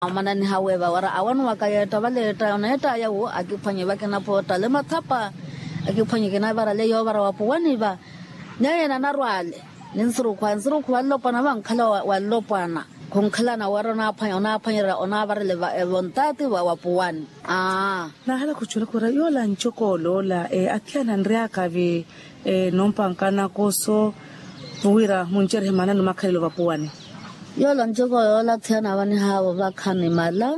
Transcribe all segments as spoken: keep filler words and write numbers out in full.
Omananiha weeva wara awanuwaka yeetta valeetta oneettaya wu akiphwanye vakinapottale mathapa. Akiphwanye kinavarale yoovara wapuwani va. Nyeye nanarwaale ninsurukhwa nsurukhwa nlopwana vankhala wa nlopwana. Khunkhalana wara onaaphwanyerya onaavarele vontaati va wapuwani. Aa. Naahala khuchula khura yoola ncoko oloola athiyana anryaka vi. Nompanka nakoso vuwira muncerehe maanani makhalelo vapuwani. Yoola ncoko yoola athiyana avanihaavo vakhanimala.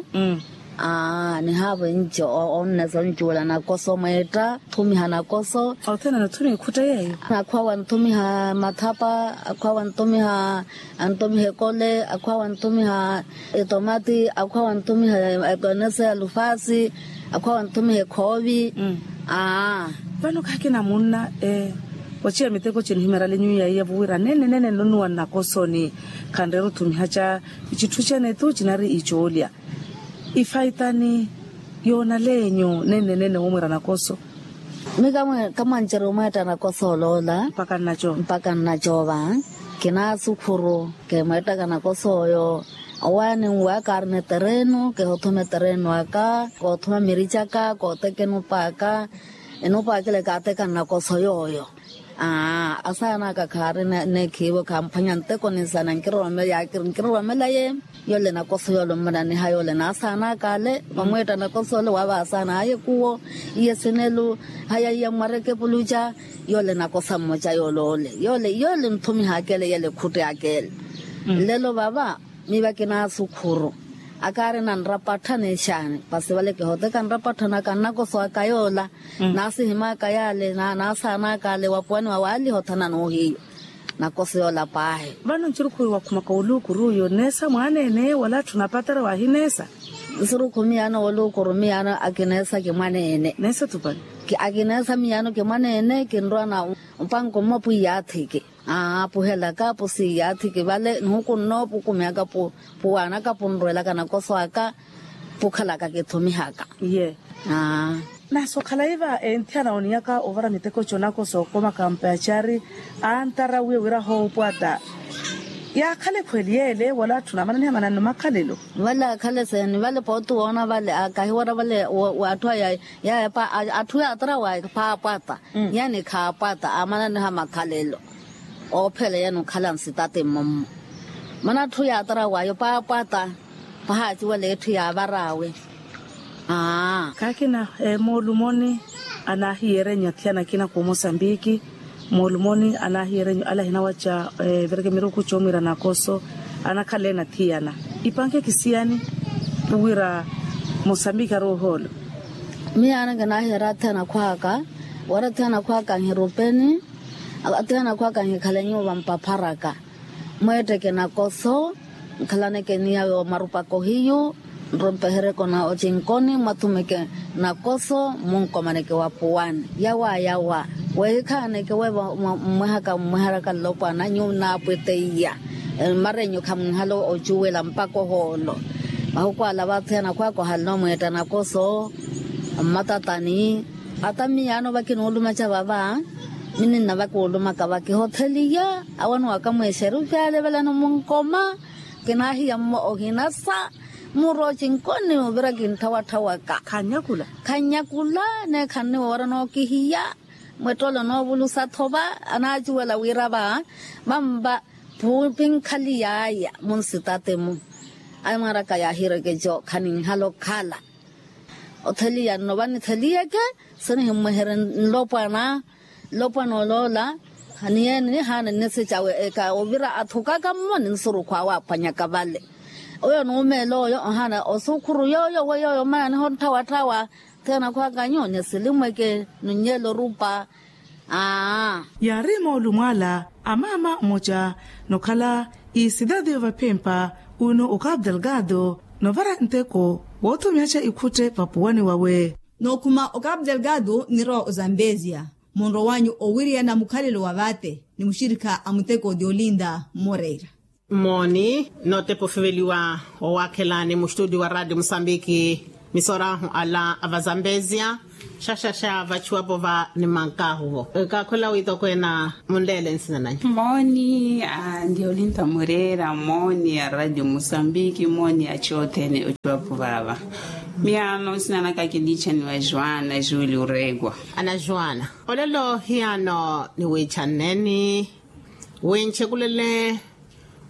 Aa nihaavo enco onnesa oncuwela nakoso mweetta. Thumiha nakoso. Athiyana anathumiha ekhutta yeeyo. Akhwawa anthumiha mathapa. Akhwawa anthumiha anthumiha ekole akhwawa anthumiha etomati akhwawa anthumiha ekonese ya lufaasi. Akhwawa anthumiha ekhoovi. Aa. Vano khakina munna. Ochiya miteko cinihimerale nyuwi yaiya vuwira nene nene nnunuwa nnakosoni. Khanreera othumiha ca ichitthu cene tu cinari icoolya. Ifaitani yoonaleenyu nene nene womwira nakoso. Mi kamwancerya omweetta nakoso oloola. Mpaka nnacoova. Kinaasukhuru. Kemweettaka nakoso oyo. Owaani nwaaka aarina eterenu kehothuma eterenu aka koothuma miricaka kootekena opaaka. Enopaakela kaateka nnakoso yooyo. Aa asaana aka khaari neekhiivo khamphwanya nteko ninsana nkiroromela ye. Yole nakoso yole mmananiha yole naasaana aka ale vamweetta nakoso ole waava asaana aye kuwo. Iye sinelu haya iye mwareke puluca. Yole nakosa mmoca yole ole yole yole nthumiha akele yele khutte akele. Nlelo vava miva kinaasukhuru. Akaari nanrapattha nexaani pasi vale kihoteka nrapattha naka nnakoso aka yoola. Naasihimaka yaale naasaanaka ale wapuwani wa waaliha othanana ohiyo. Nakoso yoola paahi. Vano ncurukhu wakhumaka oluukuru oyo neesa mwaneene wala atthu napatara wahineesa. Nsurukhu miyaano woluukuru miyaano akineesa kimwaneene. Neesa tupani. Akineesa miyaano kimwaneene kinrwa na mpanko mmo pwiiyaathiki. Aa apuhelaka pusiiyaathiki vale nihuku nnoopukumyaka puwaanaka punrwelaka nakoso aka. Pukhalaka kithumihaka. Iye. Aa. Nasi okhalayi va enthiyana oniyaka ovara miteko conako sookomaka mpacari. Antara wiye wira hoopwata. Yaakhala ekhweli yeele wala atthu naamananiha mananno makhalelo. Vale akhale seeni vale pooti woona vale akahiwara vale. Atthu aya yaya atthu yaatara waya paapwata. Yani khaapwata aamananiha makhalelo. Oophela yani okhala nsitati mmommo. Mana atthu yaatara wayo paapwata. Pahaaciwela etthu yaavar'awe. Aa. Kaakina moolumoni anaahiyeerenyu athiyana akina ku mosambiki. Moolumoni anaahiyeerenyu ala ahinawaca. Vireke miruku coomwira nakoso anakhala ene athiyana. Ipanke kisiyani wira mosambiki ari ohoolo. Miyaano kinaahiyeera athiyana akhw'aka wira athiyana akhw'aka nhirupeni. Athiyana akhw'aka nhikhalenyu vampapharaka. Mweetteke nakoso nkhalaneke niyawe omarupaka ohiyu. Nrumpeheryeke ocinkoni mwathumeke nakoso munkomaneke wapuwani yawa yawa. Wehikhaaneke wevo mmwehaka mmweheryaka nlopwana nyuwo nnaapweteiya. Mmarenyu khamwinhala ocuwela mpaka ohoolo. Mahuku ala vathiyana akhw'aka ohalina omweetta nakoso mmatatani. Ata miyaano vakinuulumaca vava. Mininna vakuulumaka vakihotheliya awanuwaka mweexeru vyaale valano munkoma. Kinaahiya mmo ohinasa muro cinkoni ovira kintthawattha waka. Khannyakula. Khannyakula. Neekha nniwowara nookihiya. Mwettolo noovulusa thova anaacuwela wira va vamva. Pinkhali yaaya munsitati-mu. Amwaraka yaahirekeco khaninhala okhala. Otheliya nno vanitheliyeke sinihimmweherye nlopwana. Nlopwana oloola. Niyeeni nihaana nnisecawe eka ovira athukaka mmo ninsurukhu awe aphwanyaka vale. Oyo nuumeela oyo ohaana osukhuru yooyo weiyo oyo mmananiha ontthawatthawa. Thiyana akhw'akanyu nisilimweke nunnyela orupa. Aa. Yaari moolumo ala a maama mmoca nokhala isidadi yovaphempa uno okapu delgado novara nteko woothomihaca ikhutte vapuwani wawe. Nookhuma okapu delgado nirowa ozambezia. Munrowanyu owiriyana mukhalelo wa vaate ni muxirikha a muteko di olinda moreira. Mmooni nootepa ofiveliwa owaakhelani muxituudio wa raatiyo musambiki. Misorahu ala a vazambezia. Xaxaxa vachuwapo va nimankahu-vo. Kakhula witokweena munleele nsina nanyu. Mooni a ndiolinta mureera mooni a radio musambiki mooni a chothene ochuwapo vaava. Miyaano nsina naka kilichaniwa juana juli ureekwa. Ana juana, olelo hiyaano niwiichanneni winchekulele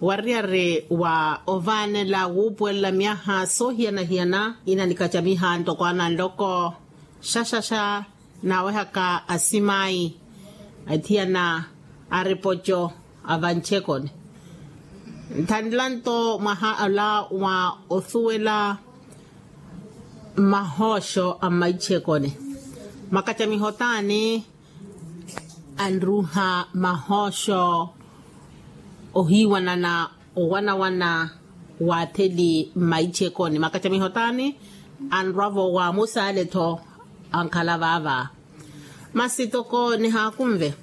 wariyari wa ovaanela wuupuwelela myaha soohiyana-hiyana. Ina nikacamiha ntoko ana nloko xaxaxa naawehaka asimayi athiyana aripoco avanchekoni. Nthanela nto mwaha ola wa osuwela mahooxo a mmaichekoni. Makacamiho taani anruuha mahooxo ohiiwanana owanawana waatheli mmaichekoni makacamiho taani anrwa-vo waamusaale-tho ankhala vaava. Masi toko nihaakunve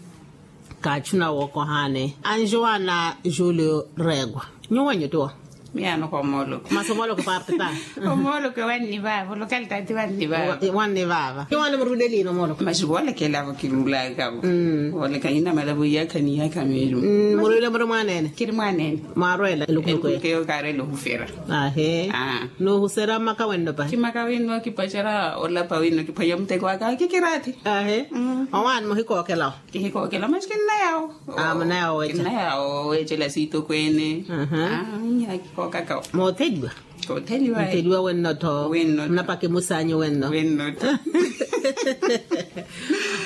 kaachuna wookohaani anjuwana julio reegwa. Nyuwenyu tiwo. Miyaano komooloko. Masi omooloko paapita. Omooloko wanni vaava olokalitaati wanni vaava. Wanni vaava iwaani muruuleliina omooloko masi voolekela vo kiruulaka vo. Vooleka inamala vo iyaakha ni iyaakha meeru. Muruule muri mwaaneene. Kiri mwaaneene. Mwaarweela elukhuluku eyo kaarweela ohufera. Ahe. Nuuhusera mmaka wenno pahi kimaka wenno kipacerya olapa wenno kiphwanya omuteko aka kikiraathi. Ahe. Owaani muhikookelawo. Kihikookela masi kinnayawo. Munayawo weeca kinnayawo weecela siitokweene. Aa. Kikookakawo. Mootheliwa. Kootheliwa. Mutheliwa wenno-tho. Wenno-tho. Munapaka emusaanyu wenno wenno-tho.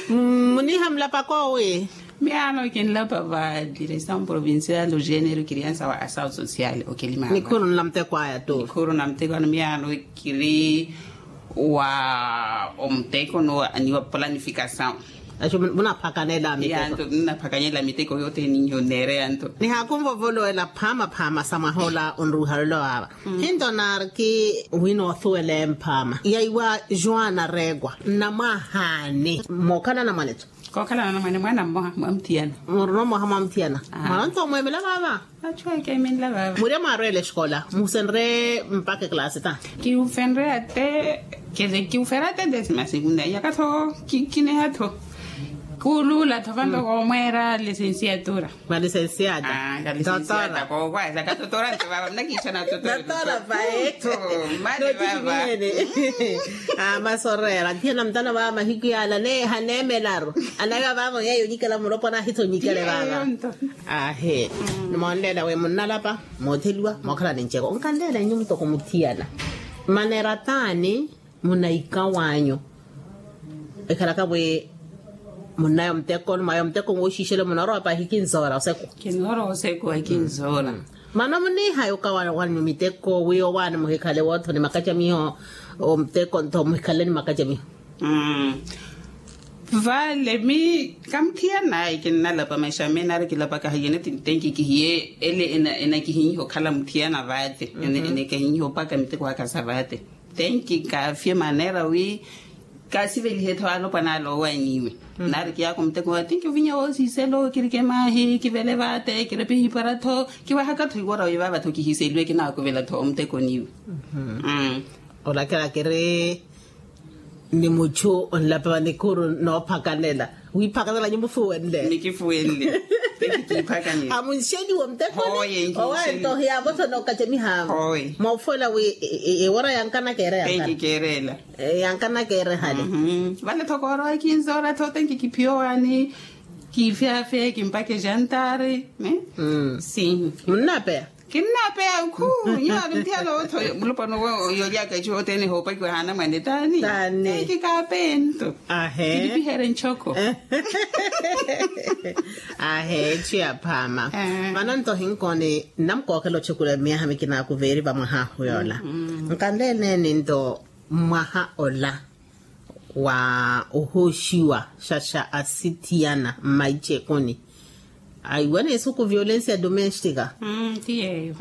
Muniiha mulapaka owi. Miyaano kinlapa va direção provincial do género criança wa ação social okelimaama. Nikhuru nla muteko aya tu nikhuru na muteko ano miyaano kiri wa omuteko ni wa planificação. Axu munaphakanela miteko. Yanto nnaphakanyela miteko yothene ninyo neereya nto. Nihaakunvovolowela phaama phaama sa mwaha ola onruuhalelo vaava. Hinto naariki wina osuwela emphaama yaiwa juana reegwa nnamwahaani mookhala anamwane-tho. Kookhala anamwane mwaana mmoha mwa muthiyana. Muruna mmoha mwa muthiyana. Mwaana onto omweemela vaava. Achu ekeemenla vaava murya mwaarweela exikola muhusenrye mpakha eklaasi ta? Kiufenrye ate kiufera ate desima sekundaria katho kineha tho. Kuuluula tho vanto koomweera lisensiatura. Malisensiata. Kalisensiata kookwasa katotora nto vaava munakiichana totora. Mali vaava. Masi oreera thiyana mutana vaava mahiku yaala haneemelaru. Anaiva vaavo yeeyo onyikela mulopwana ahitha onyikele vaava. Ahe. Nimoonleela wi munnalapa mootheliwa mookhala nincheko onkanleela inyu mutoko muthiyana. Maneera taani munaikaw'anyu ekhalaka wi munnaya omuteko ni mwaya omuteko wooxiixela munoorowa pahi kinzoora oseku. Kinoorowa oseku ekinzoora. Mana muniihaya okawa wanyu miteko wi owaani muhikhale woothoni makacamiho omuteko ntho muhikhaleni makacamiho. Vale mi kamuthiyana ayi kinnalapa maisha mene ari kilapaka hayene tenki kihiye ele enakihinyiha okhala muthiyana vaate. Enakihinyiha opaka miteko aka sa vaate. Tenki kaafye maneera wi kaasivelihe-tho alopwana ale owanyiwe. Nari kiyaaka omuteko wa tenki ovinya woosiiselo kirike maahi kivele vaate kirepe ihipara-tho. Kiwahaka-tho iwora wi vaava-tho kihiiseliwe kinaakuvela-tho omuteko niwe. Olakela kiri ni muchu onlapa va nikhuru noophakanela. Wiiphakanela nyu mufuwenle nikifuwenle. Amunxeliwa muteko owaye nto hiyaavothona okacemiha. Moofuwela wi ewora yankanaka ere yankana. Yankanaka ere hale. Vale tho koorowa kinzoora tho tenki kiphiyowaani. Kiifyaafye kimpaka ejantari. Sim. Munnapeya. Kinnaapeya nkhu. Nyuwo avinthiyala otho mulupano yolyaka echu othene hoopakiwa haana mwane taani. Taani kikaapeya nto. Ahe kilipiherye nchoko. Ahe echu ya phaama. Vano nto hinkooni nnamukookhela ochekula myaha mikinaku veeri vamwaha ahu yoola. Nkanleeleni nto mwaha ola wa ohooxiwa xaxa asithiyana mmaichekoni. Aiwa neesuku violencia domestica. Ti yeeyo.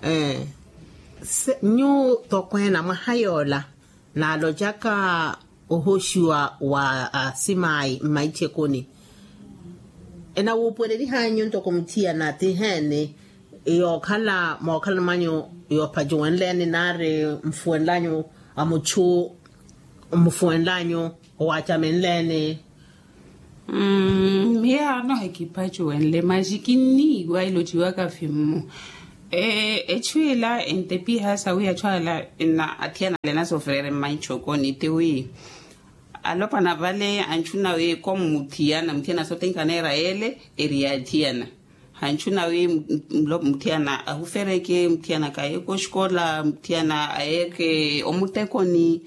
Nyu tokweena mwaha yoola naalocaka ohooxiwa wa asimaayi mmaichekoni. Enawuupuwelelihanyu ntoko muthiyana ti heeni? Yookhala mookhalani mwanyu yoopacuwenleni nari nfuwenlanyu a muchu. Mmufuwenlanyu owacamenleni? Mmm miyaano hekipacuwenle maxi kinniiwa ilociwaka fimmu. Echu ila entepiha sawi achu ala na athiyana ale na sofrere mmaitxokoni tiwi alopwana vale anchu nawe komuthiyana muthiyana sote nkaneera yele eri yaathiyana. Hanchu nawi muthiyana ahufereke muthiyana kayeeke oxikola muthiyana ayeeke omutekoni.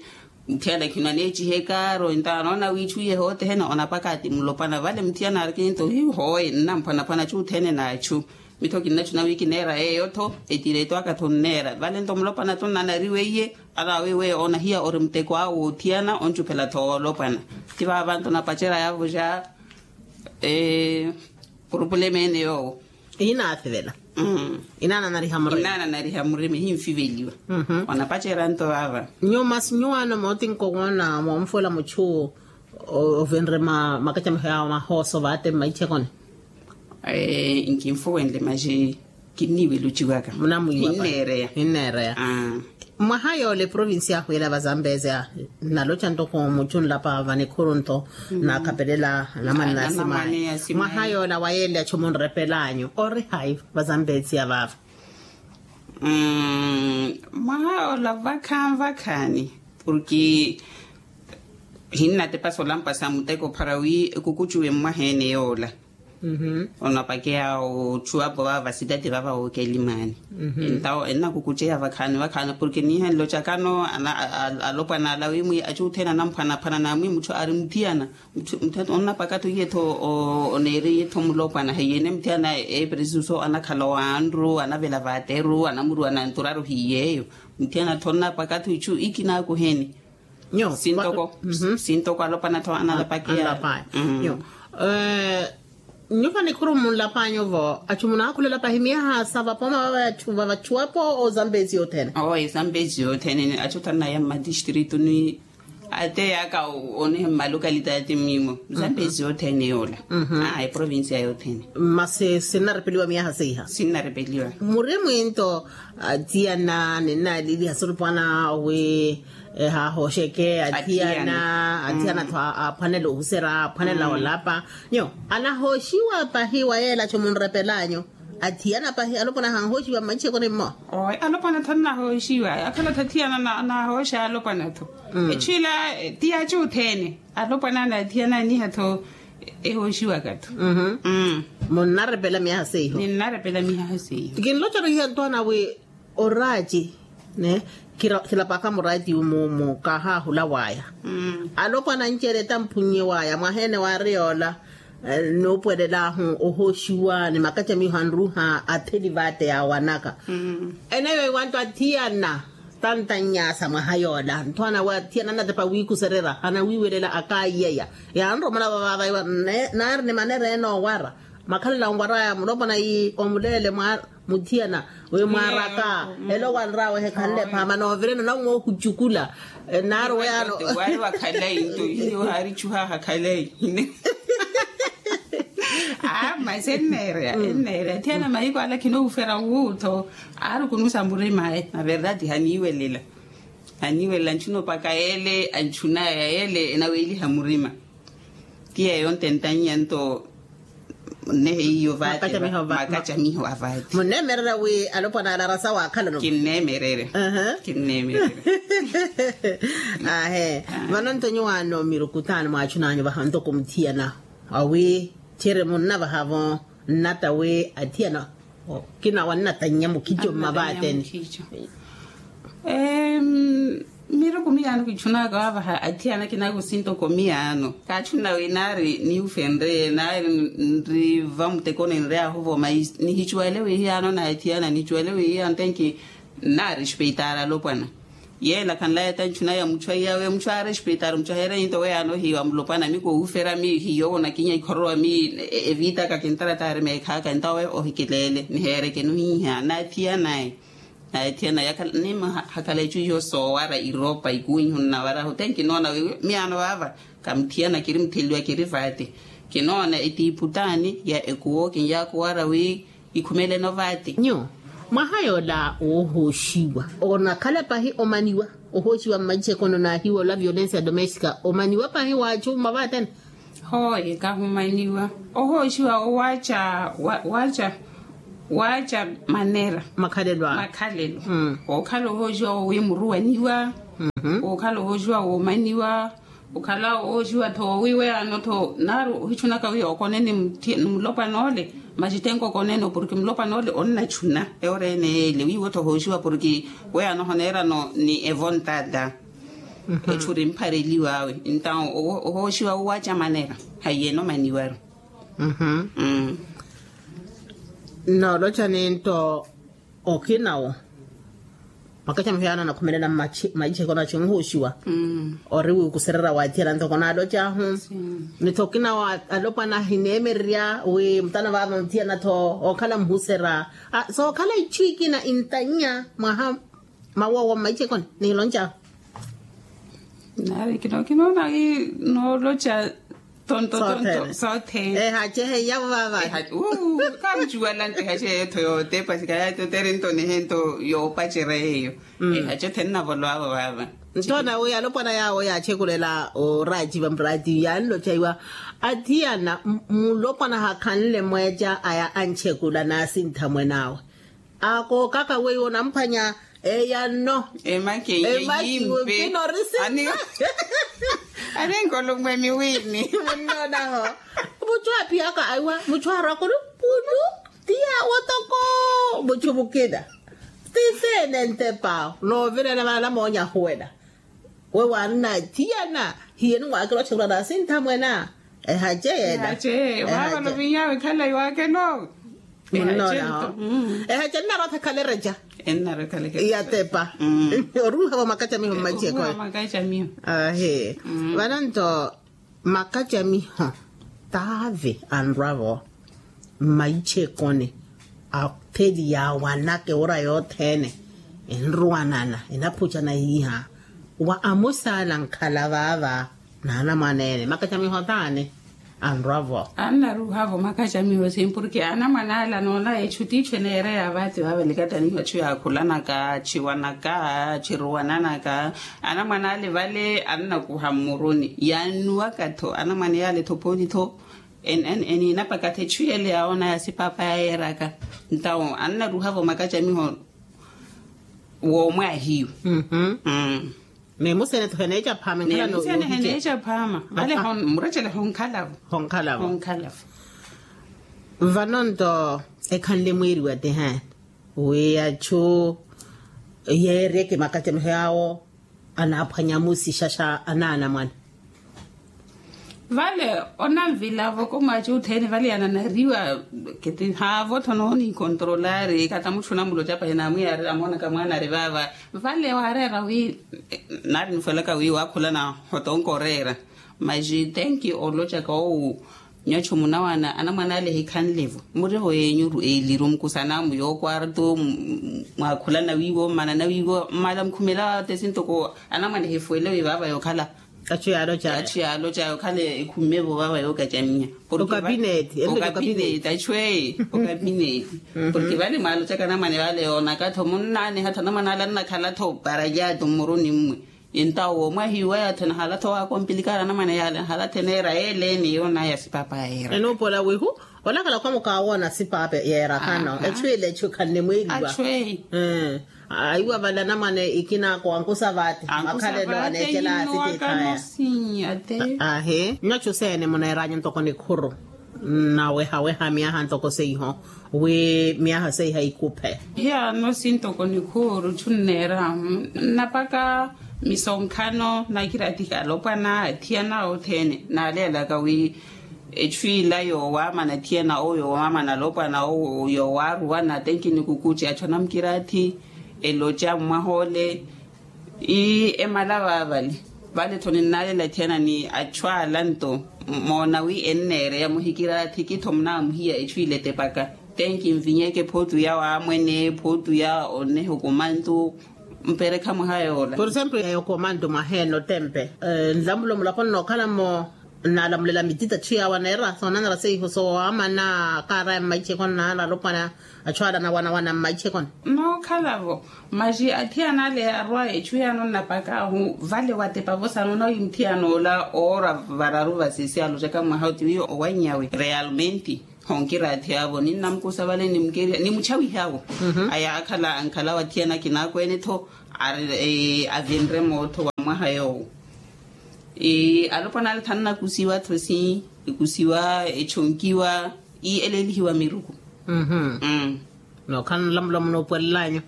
Muthiyana khino aneecihe kaaro entawo anoona wiichu iye hootehene onapaka ati mulopwana vale muthiyana arikini nto hihoye nnamphwanaphwana chuthene n'achu. Mitho kinnachuna wi kineera yeeyo-tho etireto aka-tho nneera vale nto mulopwana-tho nnanariwe iye. Anawiwe onahiya ori muteko awe woothiyana oncuphela-tho woolopwana. Ti vaava nto napacerya yaavo ja purupulemu ene yoowo. Inaathivela. Inaananariha murima. Inaananariha murima ehinfiveliwa. Onapacerya nto vaava. Nyuwo masi nyuwaano mootinko woona moonfuwela muchu ovinre makacamiho yaawe mahooso vaate mmaichekoni. Nkinfuwenle maxi kinniiwela ociwaka. Munamwiiwa pa. Hinneereya. Hinneereya. Mwaha yoola eprovinsi yaahu yela vazambezia nnaloca ntoko muchu nlapa vanikhuru nto naakhapelela anamwane n'asimayi. Mwaha yoola wa yele achu munrepelanyu ori hayi vazambezia vaava? Mwaha yoola vakhaani vakhaani porki hinnatepasa olampa sa muteko para wi ekukucuwe mmwaha ene yoola. Onapakeya ochuwapo vaava vasitati vaava wookelimani. Entawo ennakukuceya vakhaani vakhaani porke niiha nlocakano alopwana ala wimwi achu othene anamphwanaphwana namwi muchu ari muthiyana. Muthiyana onnapaka-tho iye-tho oneeri iye-tho mulopwana heiye ene muthiyana eeperesiso anakhala owanru anavela vateru anamuruwa nanturaru hiyeeyo. Muthiyana-tho onnapaka-tho ichu ikinakuheni. Sintoko sintoko alopwana-tho analapakeya. Nyo. Nyuva nikhuru munlapanyu vo achu munaakhulelapahi miyaha sa vapoma vavachuwapo ozambezi yothene. Owo ezambezi yothene achu thanaya mmatistrito ni ate yaka onihe mmalokalitati mimo zambezi yothene yoola. Eprovinsiya yothene. Masi sinnarepeliwa miyaha seiha sinnarepeliwa. Muri mwinto atiyana ninnaliliha solupwana wi ehaahoxeke athiyana athiyana-tho aaphwanela ohuserya aaphwanela olapa. Nyo anahooxiwa pahi wa yeela cho munrepelanyu athiyana pahi alopwana ahanhooxiwa mmaichekoni mmo. Alopwana-tho annahooxiwa akhala-tho athiyana anahooxa alopwana-tho. Echu ila ti yachu othene alopwana n'athiyana aniha-tho ehooxiwaka-tho. Munnarepela miyaha seiho. Ninnarepela miyaha seiho. Kinlocaru iha ntwana wi oraati ne khilapaka muraati umumu kahaahula waya. Alopwana ancereta mphunnye waya mwaha ene waari yoola nuupwelelaahu ohooxiwa ni makacamiho anruha atheli vaate yaawanaka. Eneyo iwanto athiyana tantannyasa mwaha yoola nthwana we athiyana anatepa wiikusererya anawiiwelela akaiyeya. Yanromona vavavaiwa naari ni manera ene owara makhalela onwaraya mulopwana ii omuleele mwa muthiyana wi mwaaraka. Elo wanrawe hekhanle phaama noovireno nawe moohucukula. Naaru weyaano wari wakhalayi nto hiyo haarichuhaha khalayi. Aa masi enneereya enneereya athiyana mahiku ala khinoofera wuutho. Aari okunusa murimaye na verdade haniiwelela. Haniiwelela anchuna opaka yele anchunaya yele enaweeliha murima. Ti yeeyo ntentannya nto nnehe iyo vaate makacamiho avaati. Munneemererya wi alopwana ala arasa waakhalano? Kinneemererya. Kinneemererya. Ahe. Vano nto nyuwaano mirukutaani mwaachunanyu vaha ntoko muthiyana awi chere munnavahavo nnata wi athiyana kinawa nnatannya mukhico mmavaateni. Miruku miyaano kichunaka waavaha athiyana kinaku sintoko miyaano kaachuna wi naari niufenreye naari nri vamutekoni nri ahuvo mai nihichuwele wi hiyaano na athiyana nichuwele wi hiyaano tenki. Nnaarespeitar alopwana yeela khanlaya tanchuna ya muchu aiyawe muchu aarespeitar muchu aheere ninto weyaano hiiwa mulopwana mi kuuferya mi hiiyowo nakinya ikhororowa mi evitaka kintarataari meekhaaka entawe ohikileele niheerekenu hiiha naathiyanaye. Naathiyanaye ni hakhala echu hiyo soowara iropa ikuwihu nnawarahu te nkinoona wi miyaano vaava kamuthiyana kiri mutheliwa kiri vaate. Kinoona etiiputaani ya ekuwo kinyaakuwara wi ikhumeleno vaati. Nyu mwaha yoola woohooxiwa onakhala pahi omaniwa. Ohooxiwa mmaitxekono naahiwa ola violencia domestica omaniwa pahi waacu mma vaatene? Hooye kahumaniwa. Ohooxiwa owaaca, waaca, waaca manera makhalelo. Ookhala ohooxiwa wowimuruwaniwa. Ookhala ohooxiwa woomaniwa. Okhala ooxiwa-tho wiiweyano-tho naaru ohixunaka wiiya okone ni mulopwana ole. Maxitenko okoneno porke mulopwana ole onnachuna eworeene yeele wiiwo-tho ohooxiwa porke weyano honeerano ni evontata. Etxuri mphareliwaawe. Entawo ohooxiwa owaaca manera haiyeno maniwaru. Nooloca ninto okinawo. Makaxamiho yaana nakhumelela mmaitxeko naxi onhooxiwa ori wiikusererya waathiyana ntoko naalocahu. Nitho okinawo alopwana ahineemererya wi mutana vaava muthiyana-tho ookhala muhusera. Sookhala itthu ikina intannya mwaha mawowo mmaitxekoni niloncahu. Nari kinookinoona wi nooloca tonto tonto soothene. Ehace heiyavo vaava. Kaamucuwala nti ehace yeetho yootepa sikayati otere nto nihento yoopacerya yeeyo. Ehace othene navoloavo vaava. Nto nawi alopwana yaawo yaaxekulela oraciva murati yaanlocaiwa athiyana mulopwana hakhanle mweeca aya anxekula naasintha mwen'awe. Akookaka weiwo onamphwanya eyanno. Emakiye yimpi. Ani nkolumwe miwini munnoonaho. Muchu aphiyaka aiwa muchu arwakulu pulu tiya wotoko muchu mukina. Tisene ntepa noovirela vana moonya ahuwela. We wanna thiyana hiyeni waakela oxekhula naasintha mwena. Ehace yeela. Ehace vavalo vinyawe khalayi waakela owe. Ehace nnarotha khalereca. Ennarekhalekhale yatepa. Oruuhavo makacamiho mmaitxekoyo. Ahe. Vano nto makacamiho taave anrwavo mmaitxekoni atheli yaawanaka ewura yothene. Enruwanana enaphucana hiiha wa amusaala nkhala vaava naanamwaneene makacamiho taani. Anrwavo annaruhavo makacamiho sim porke anamwane ala noona echu tiichu eneereya vaati vaavalikataniho achu yaakhulanaka achiwanaka achiruwananaka. Anamwane ale vale annakuha mmuruni yaannuwaka-tho anamwane yaale-tho pooti-tho. Eniinapaka-tho echu yele yaawona ya sipaapa yayeeraka. Ntawo annaruhavo makacamiho woomwaahiyu. Meemusene-tho heneeca phaama enkhala no yohice. Vale murechele honkhalavo honkhalavo. Vano nto ekhanle mwiiriwa ti he wi achu yeeryeke makacamiho yaawo anaaphwanya musixaxa anaana mwana. Vale onanvilavo komwaci othene vale yananariwa keti haavo-tho noonikontrolari kata mutthu onamuloca pahi naamwiyaarira amoonaka mwaana ari vaava. Vale waareera wi nari nifwelaka wi waakhulana hotonka oreera maxi tenki olocaka owu. Nyottho munawana anamwane ale ehikhanle-vo muriho yeenyu eeliru mukusanaamu yookwarto. Mwaakhulana wiiwo mmanana wiiwo mmala mukhumela tesi ntoko anamwane ehifwele wi vaava yookhala. Achu yaaloca achu yaaloca yookhala ekhumme-vo vaava yookacamiha. Okapineeti okapineeti achu eye okapineeti. Porke vale mwaalocaka anamwane vale yoonaka-tho munnaaniha-tho anamwane ale annakhala-tho parajato mmuruni mmwe. Entawo woomo ahiiwaya-tho nahala-tho waakompilikari anamwane yaale nahala-tho eneera yeeleeni yoona ya sipaapa yeera. Enuupola wihu olakhala khwamuka awoona sipaapa yeera khano echu ile echu khanne mwiiliwa. Achu eyi aiwa vale anamwane ikina kowankusa vaati makhalelo aneecela asitikhaya. Ahi nyochu seene muneeranyu ntoko nikhuru nnawehaweha myaha ntoko seiho wi myaha seiha ikuphe. Hiyano sintoko nikhuuru tthunneerahu nnapaka misonkhano nakiratika alopwana athiyana othene naaleelaka wi echu ila yoowaamana athiyana owo yoowaamana alopwana owo yoowaaruwana atenki nikukutti achu anamukiraathi eloca mmwaha ole. Ii emala vaavale vale-tho ninnaalela athiyana ni achu ala nto moona wi enneereya muhikiraathi ki-tho munaamuhiya echu ile etepaka. Tenki nvinyeke phootu ya waamwene phootu ya oneha okomantu mperekha mwaha yoola. Por exemplo ya okomantu mwaha ene otempe nlamulo mulaponi nookhala-mo. Nnaalamulela mitita tthiyaawa neera soonanara seiho soowamana kaaraya mmaichekoni naala alopwana. Achu ala anawanawana mmaichekoni. Nookhalavo. Maxi athiyana ale arwa echu yaano nnapakaahu vale watepavo sano nawi muthiyanoola oora vararu vasisi alocaka mwaha oti wiyo owanyawe realmente. Honkira athiyavo ninnamukusa vale nimuchawihawo. Ayaakhala ankhala wathiyana kinaakweene-tho. Avinre mootho wa mwaha yoowo. Alopwana ale thannakusiwa-tho si ikusiwa echonkiwa. Ii eleelihiwa miruku. Nookhala nlamulo munoopwelelanyu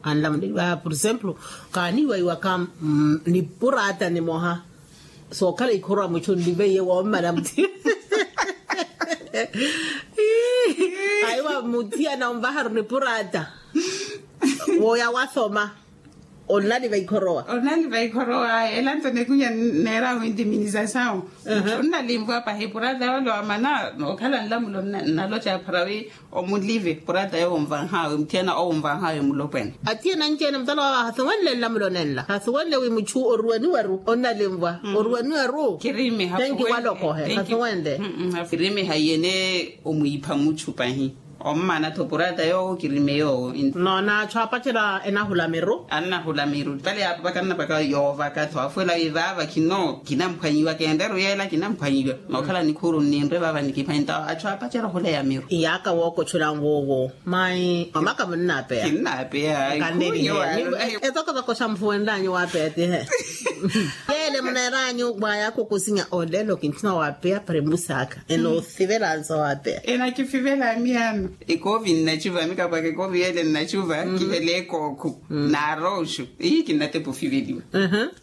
anlamuleliwa por exemplo kaaniiwaiwaka nipuraata nimoha. Sookhala ikhorwa muchu nliveiye woomala muthi aiwa muthiyana onvaharu nipuraata. Woya wathoma onnaliva ikhorowa. Onnaliva ikhorowa ela nto nekunya neera wintiminiza sawo. Onnalimpwa pahi purata yole wamana nookhala nlamulo nnaloca pharawi omulive purata yowo onvanhawe muthiyana owo onvanhawe mulopwene. Athiyana anci-ene mutala wawe hasuwenle nlamulo nenla hasuwenle wi muchu oruweniwaru onnalimvwa oruweniwaru. Kirimeha tenki walokohe hasuwenle. Kirimeha iyene omwiipha muchu pahi. Ommana-tho purata yoowo kirime yoowo. Noona achu aapacela enahula miru. Annahula miru vale yaapapaka nnapaka yoovaka-tho afuwela wi vaava khino kinamphwanyiwa kenreru yeela kinamphwanyiwa. Nookhala nikhuuru nninre vaava nikiphwanyi nto achu aapacela ohuleya miru. Iyaaka wookochula nwoowo. Mayi mamaka munnaapeya. Kinnaapeya. Etokotoko xa mufuwenlanyu waapeya tihe. Yeele muneeranyu mwayakukusinya olelo kintthuna waapeya para emusaaka. Enoosivela nsa waapeya. Enakifivela miyaano. Ekoovi nnacuva mikapwaka ekoovi yeele nnacuva kihela ekookhu. Naaroxu. Ihi kinnatepa ofiveliwa.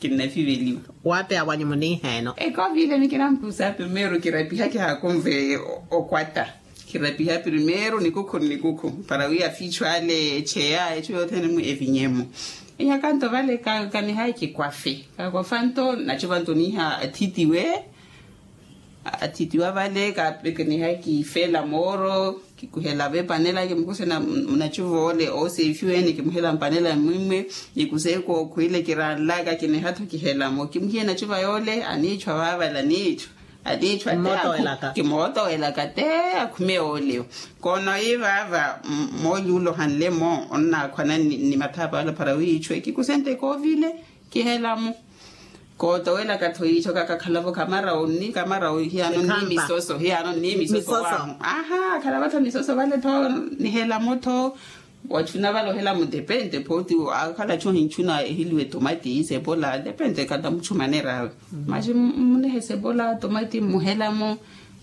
Kinnafiveliwa. Waapeya wanyu muniiheeno ekoovi ile mikinampusa primeiro kirapiha kihaakunve. Okwata kirapiha primeiro nikukhu nnikukhu para wi afiichu ale echeya echu yothene-mu evinye-mu. Iyakanto vale kanihayi kikwafe kakwafanto nnacuvanto niiha athitiwe. Athitiwa vale kanihayi kifela mooro kikuhela vepanela kimukuse munacuva ole oosefiwene kimuhela mpanela mmwimwe. Kikuse kookhwile kiranlaka kiniha-tho kihela-mo kimuhiye nacuva yole aniichwa vaavale aniichwa. Aniichwa te kimootoowelaka te akhume yoolewo. Koono yi vaava mooli ule ohanle-mo onnaakhwana ni mathaapa yole para wiichwe kikusente kooviile. Kihela-mo. Kootowelaka-tho yiicho kakakhala-vo kamarawu nni kamarawu hiyaano nni misoso hiyaano nni misoso waahu. Aha akhala-vo-tho misoso vale-tho. Nihela-mo-tho. Wachuna vale ohela-mo depente pooti akhala-tho hinchuna ehiliwe tomati sepola depente kata muchumanera awe. Maxi munehe sepola tomati muhela-mo.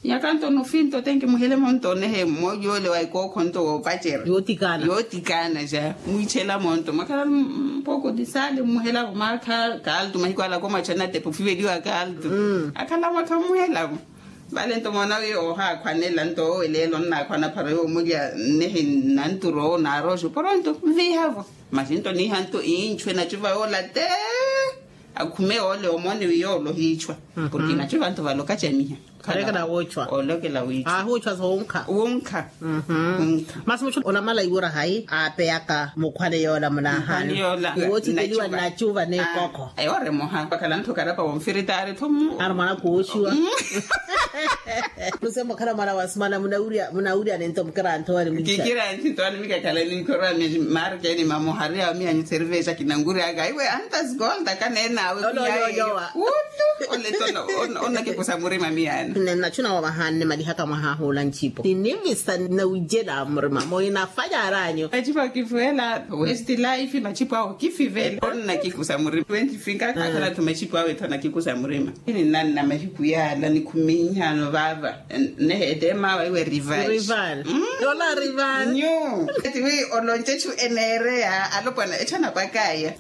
Nyakanto nofinto tenki muhele monto onehe mmoja ole wa ikookho nto woopacera. Yootikana ja mwiichela monto mwakhala mpoko tisale mmuhelavo mwaakha kaltu mahiku alaka omwachana tepa ofiveliwa kaltu. Akhala mwakha mmuhelavo. Vale nto moona wi ohaakhwanela nto owe leelo nnaakhwana phara yoomulya nnehe nanturo naaroxo poronto nviihavo. Maxi nto niiha nto iinchwe nacuva yoola te. Akhume ole omoone wi yoole ohiichwa. Porke inacho vantu vale okacamiha. Olokela wiichwa. Ahuuchwa soonkha. Wunkha. Masi muchu olamala iwura hayi aapeyaka mukhwale yoola munaahani? Iwootikeliwa nnachuva n'ekokho. Eyo ori emoha vakhala nthu karapa wonfiritaari tho mu ari mwana kuwoxiwa. Musemo khala mwana wa simana munawurya munawurya nento mukira anthu wari mwicha. Kikira nthinto wani mikakhala ninkhorwa maari keni mamohari awo miyanyu cerveja kinanguryaka iwe antas golda kaneenawe kuyaeyo. Utu. Ole tono onnakikusa murima miyana. Nnachu nawavahanne malihaka mwahahuula ncipo ninivisa nawujela murima moinafanyara anyu. Machipo akifuwela west life machipo awo kifivela onnakikusa murima twenty finka akhala tho machipo awe tho nakikusa murima. Ini nanna mahiku yaala nikhuminhano vaava. Nehe ete mawa iwe rival. Rival. Yola rival nyu. Eti wi olonce chu enereya alopwana echana pakaya.